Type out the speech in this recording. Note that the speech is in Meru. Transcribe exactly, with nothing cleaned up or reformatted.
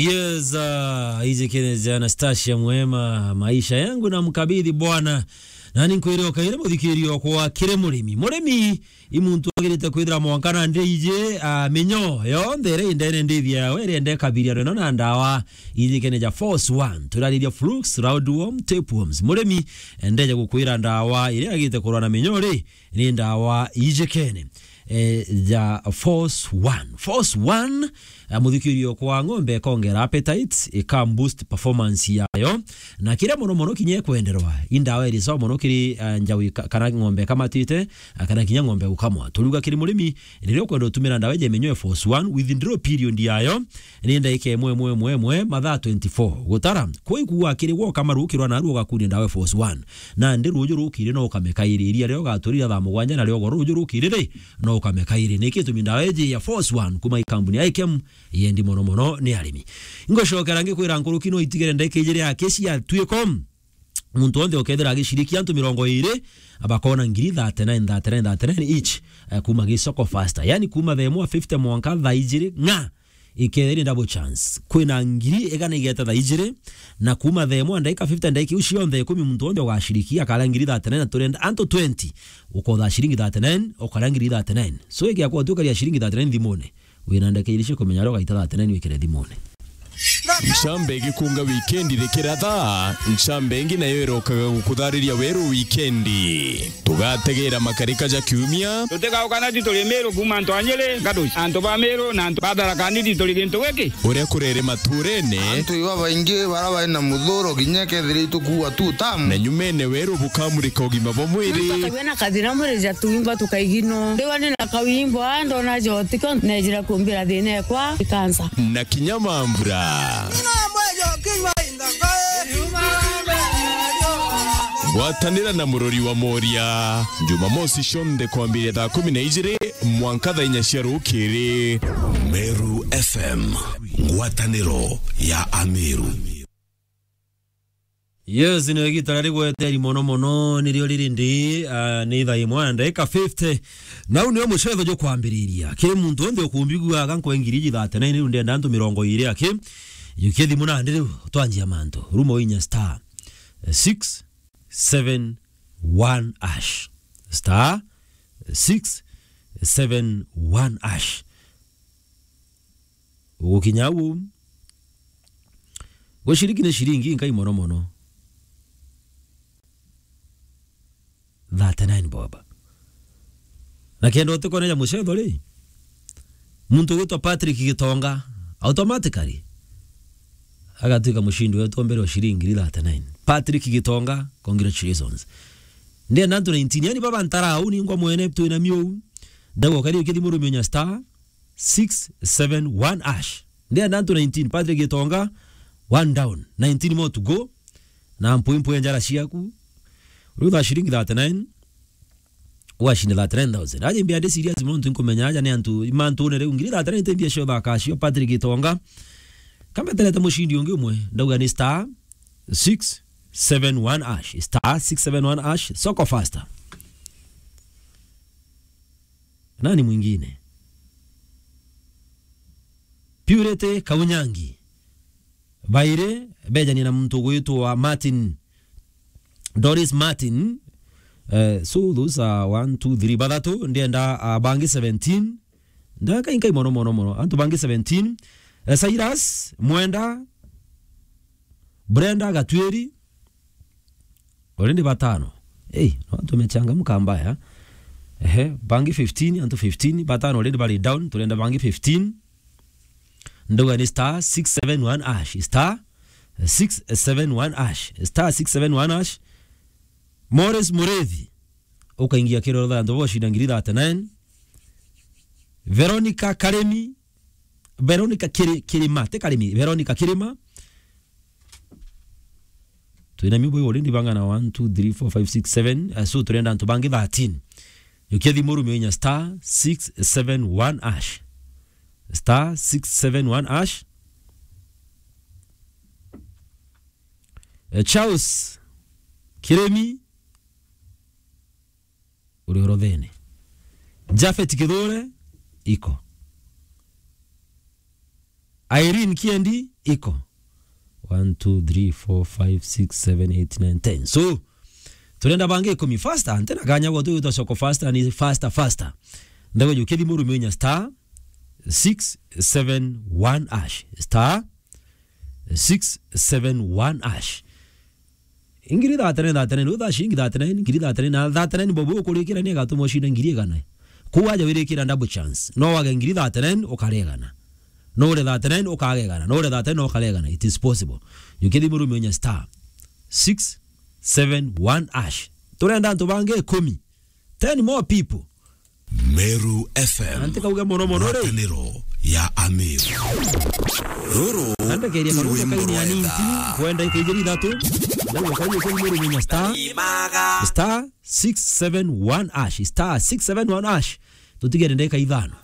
Yes, uh, iji kene ja Anastasia Mwema, maisha yangu namkabidhi Bwana. Nani nkwire okaire muthikirio kwa kire murimi. Murimi i muntu agirite kwithira mwanka na ndiji, uh, minyo yonthe iri indene ndithia yawe iri ende kabiria rweno na ndawa iji kene ja Force One. Turariria flukes, roundworm, tapeworms. Murimi endeje gukwira ndawa iria agite kurwa na minyo ri ni ndawa ijikene, eh, ja Force One. Force One, eh, muthikirio kwa ng'ombe ikongera appetite, ika boost performance yayo, na kiria mono mono kinya ikwenderwa, i ndawa iri sawa mono kiri, eh, njau ika-, kana ng'ombe ikamatite, eh, kana kinya ng'ombe gukamwa. Turiuga kiri murimi, riria ukwenda utumira ndawa iji ya minyo ya Force One, withdrawal period yayo, ni ndagika imwe, imwe, imwe, imwe, mathaa twenty-four. Gutara, kwi kuuga kiri gwe ukama rukirwa naru ugakunia ndawa ya Force One. Nandi ruuju rukiri no ukame kairi, iria riria ugaturira thaa mugwanja nario ugo ruuju rukiri ri, no ukame kairi. Niki gitumi ndawa iji ya Force One kuma i kambuni ya Ikem yendi mono mono ni arimi. Ingocokera ngikwira nkuruki no itigere ndagika ijiri aki cia twiko. Muntu wonthe ukethira agicirikia antu mirongo iri, bakona ngiri thirty-nine, thirty-nine, thirty-nine each, eh, kuma gi soko faster. Yani kuma thaa imwe fifty mwanka thaa ijiri ng'a ikethira ni double chance. Kwina ngiri igana igeta thaa ijiri, na kuma thaa imwe ndagika fifty, ndagika iu cionthe ikumi muntu wonthe ugacirikia akaria ngiri thirty-nine, na turenda antu twenty ukotha ciringi thirty-nine, ukaria ngiri thirty-nine. So igia kwatukaria ciringi thirty-nine thimune. Wina ndagika ijiri cia kumenya uria ugaita thirty-nine wikire thimune. Ncambe igikunga wikendi rikiratha, ncambe ingi nayo irokaga gukuthariria weru wikendi. Tugategera makarika ja kiumia. Tutigauka nati turi Miru kuma antu a Nyeri, Gaduci, antu ba Miru na antu ba Tharaka Nithi turi gintu giki. Uria kurere maturene. Antu iba baingi bara bari na muthuro kinya kethira itukuua tu tamu. Na nyumene weru bukamurika ugima bwa mwiri. Ntatagwe na kathina mwiri ja tuimba tukaigino. Ndiwa ni na kawimbo, a, ndona jotiko, nejira kumbira thina ekwa, ikansa. Na kinya mambura. Gwatanira na murori wa Moria, Jumamosi cionthe kwambiria thaa kumi na ijiri mwanka thaa inya cia rukiri. Meru F M, ngwataniro ya Ameru. Yes, ni igita riri gweteri mono mono, nirio riri ndi, ah, ni thaa imwe na ndagika fifty. Nau nio mucetho jukwambiriria. Kiri muntu wonthe ukumbiguaga nkwe ngiri iji thirty-nine, riu ndenda antu mirongo iri aki. Jukia thimu nandi riu, twanjia mantu. Rumo inya star six seven one hash. Star six seven one hash. Ugukinya au, gwe ciringi ni ciringi inkai mono mono. Thirty-nine bob. Na kenda utikoneja mucetho ri, muntu ugwitwa Patrick Gitonga, automatically agatuika mucindi wetu wa mbere wa ciringi ngiri thirty-nine. Patrick Gitonga, congratulations. Ndienda antu nineteen, yani baba ntara au ningwa mwene twina miu. Ndagwa kari ukithimurumia star six seven one hash. Ndienda antu nineteen, Patrick Gitonga, one down, nineteen more to go. Na mpwi mpwi njara ciaku. Rutha ciringi thirty-nine, washinde thirty-nine thousand. Aje mbia ndi serious muntu nkumenya aja ni antu, imantu ne riu ngiri thirty-nine te mbia cio thaka cio, Patrick Gitonga. Kambeterete mucindi ungi umwe, ndauga ni star six seven one hash, star six seven one hash, soko faster. Nani mwingine? Purity Kaunyangi. Bairi bejanie na muntu ugwitwa Martin, Doris Martin. Eh, so those are one, two, three, bathatu. Ndienda, ah, bangi seventeen. Ndaka inkai mono, mono, mono. Antu bangi seventeen. Eh, Cyrus Mwenda, Brenda Gatwiri. Already batano. Hey, no, tumechangamka mbaya. Ehe, bangi fifteen, antu fifteen, batano already bari down, turenda bangi fifteen. Nduga ni star six seven one hash, star six seven one hash, star six seven one hash. Morris Murethi, ukaingia kiroro tha antu boshinda ngiri thirty-nine. Veronica Karemi, Veronica Kiri-, Kirima, ti Karimi, Veronica Kirima. Twina miubo already bangana one, two, three, four, five, six, seven. Uh, so turenda antu bangi thirteen. Yukia thimu rumio inya star six seven one hash. Star six seven one hash. Eh, Charles Kiremi, uri orothene. Japhet Kithure, iko. Irene Kiendi, iko. One, two, three, four, five, six, seven, eight, nine, ten. So, turenda bangi ikumi faster, ntina kanya gwa tu gutwa soko faster, ni faster, faster. Ndago juke thimu rume inya star six seven one hash. Star six seven one hash. Ngiri thirty-nine, thirty-nine, utha shilingi thirty-nine, ngiri thirty-nine, na thirty-nine bobo ukurikira ni agatuma ushinde ngiri igana. Kuu aja wirikira double chance. No wage ngiri thirty-nine, ukare igana. No ure thirty-nine, ukage igana. No ure thirty-nine, no ukare igana. It is possible. Juke thimu rume inya star six seven one hash. Turenda antu bangi ikumi. Ten more people. Meru F M. Na ntikauge mono mono ri. Ngwatanĩro ya Ameru. Rũrũ na ndekeria karuto kaini ya ninti, kwenda ikaijiri ithatu. Ndauga kaini kwa Meru menya star, star six seven one hash, star six seven one hash. Tutigere ndeka ithano.